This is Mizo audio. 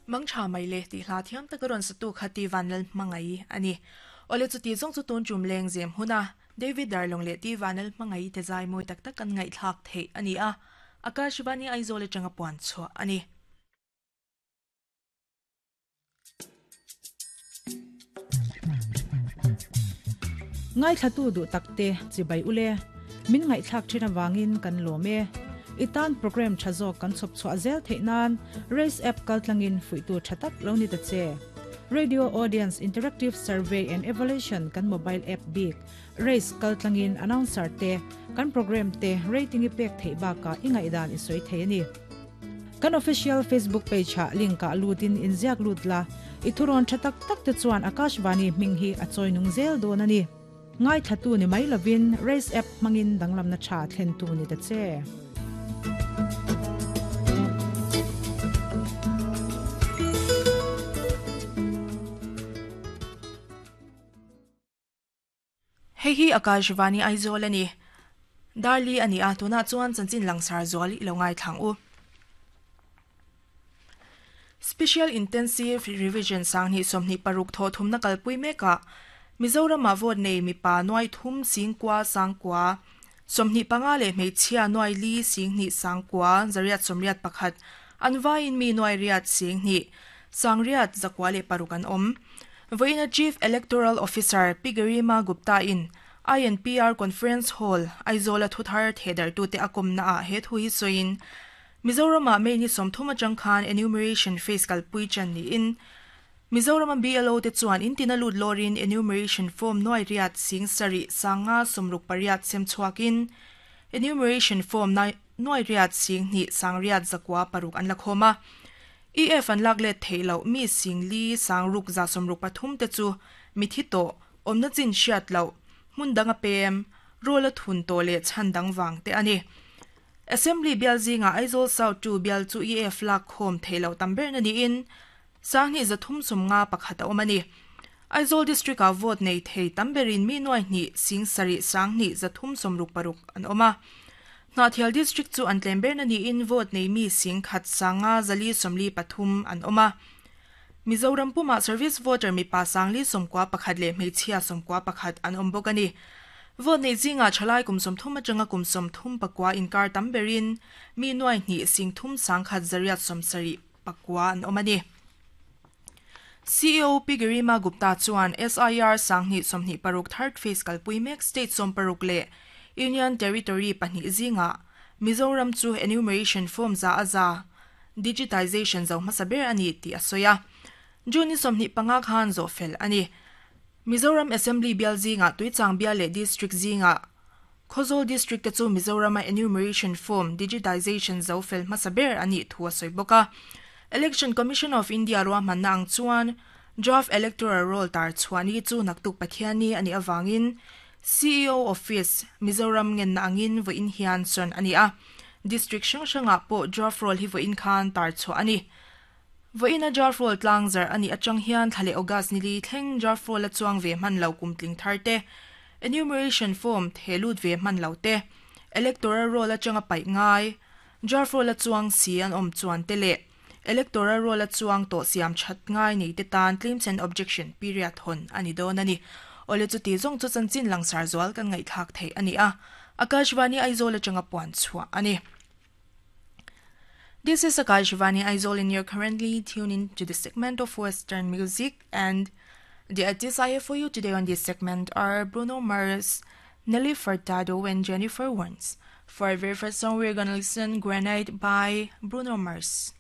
Mang tha mai le tih hla thiam taka rawn satu kha Ti Vanlal Hmangaih a ni. Awle chuti zawng chu tun tum leng zem huna David Darlawng leh Ti Vanlal Hmangaih te zai mawi tak tak kan ngaihthlak theih a ni a, Akashvani Aizawl atanga puan chhuah a ni. Ngaithlatu duh takte chibai ule, min ngaihthlak thin avangin kan lawm e. I tan program tha zawk kan chhawp chhuah zel theih nan Race app kaltlangin fuihtu tha tak lo ni ta che. Radio Audience Interactive Survey and Evaluation kan mobile app bik Race kaltlangin announcer te, kan program te rating i pek theih bakah i ngaihdan i sawi thei a ni. Kan official Facebook page ah link ah lut in inziak lut la, i thurawn tha tak tak te chuan Akashvani hming hi a chawi nung zel dawn a ni. Ngaithlatu ni mai lovin Race app hmangin danglamna tha thlentu ni ta che. Hei hi Akashvani Aizawl a ni. Darli a ni a, tunah chuan chanchin langsar zual i lo ngaithlang u. Special Intensive Revision sanghnih 26 thawh thumna kalpui mekah Mizoramah vote nei mipa nuai thum singkua sangkua 25 leh hmeichhia nuai li singhnih sangkua zariat sawmriat pakhat an vaiin mi nuai riat singhnih sangriat zakua leh paruk an awm. Vawiina Chief Electoral Officer Pi Garima Gupta in INPR Conference Hall, Aizawl-a thuthar thehdarhtute a kawmna ah he thu hi sawiin, Mizoram-ah May ni 30 atang khan enumeration phase kalpui chan niin, Mizoram-a BLO te chuan in tina lut lawrin enumeration form nuai riat sing sarih sanga sawmruk pariat sem chhuakin enumeration form nuai riat sing hnih sang riat zakua paruk an la khawm a. EF an lak let theih loh mi sing li sang ruk za 63 te chu mithi tawh, awmna chin hriat loh, hmun dang a pem, rawl a thun tawh leh chhan dang vang te a ni. Assembly bial zingah Aizawl South 2 bial chu EF lak khawm theih loh tam berna niin 2351 a awm a ni. Aizawl District ah vote nei thei tam berin mi nuai hnih sing sarih sang hnih 366 an awm a. Hnahthial District chu an tlem berna niin vote nei mi sing khat sanga zali sawmli pathum an awm a. Mizoram pumah service voter mipa sangli 91 leh hmeichhia 91 an awm bawk a ni. Vote nei zingah thalai kum 30 atanga kum 34 inkar tam berin mi nuai hnih sing thum sang khat zariat 79 an awm a ni. CEO Pi Garima Gupta chuan SIR 2026 third phase kalpui mek state 16 leh Union Territory pahnih zingah Mizoram chu enumeration form za a za digitization zo hmasa ber a ni tih a sawi a. June ni 25 khan zawh fel a ni. Mizoram Assembly bial zingah Tuichang bial leh District zingah Khawzawl District te chu Mizorama enumeration form digitization zo fel hmasa ber a nih thu a sawi bawk a. Election Commission of India ruahmanna ang chuan draft electoral roll tar chhuah ni chu naktuk Pathian ni a nih awangin CEO Office, Mizoram ngenna angin vawiin hian sawn a ni a. District hrang hrangah pawh draft roll hi vawiin khan tar chhuah a ni. Vawiina draft roll tlang zarh a nih atang hian thla leh August ni li thleng draft roll a chuang ve hman lo kum tling thar te, enumeration form the lut ve hman lo te, electoral roll atanga paih ngai, draft roll a chuang si an awm chuan te leh electoral roll a chuang tawh siam that ngai nei te tan claims and objection period hawn a ni dawn a ni. Awle chuti zawng chu chanchin langsar zual kan ngaihthlak theih a ni a, Akashvani Aizawl atanga puan chhuah a ni. This is Akashvani Aizawl and you're currently tuning to the segment of Western music, and the artists I have for you today on this segment are Bruno Mars, Nelly Furtado and Jennifer Warnes. For our very first song, we're gonna listen Grenade by Bruno Mars.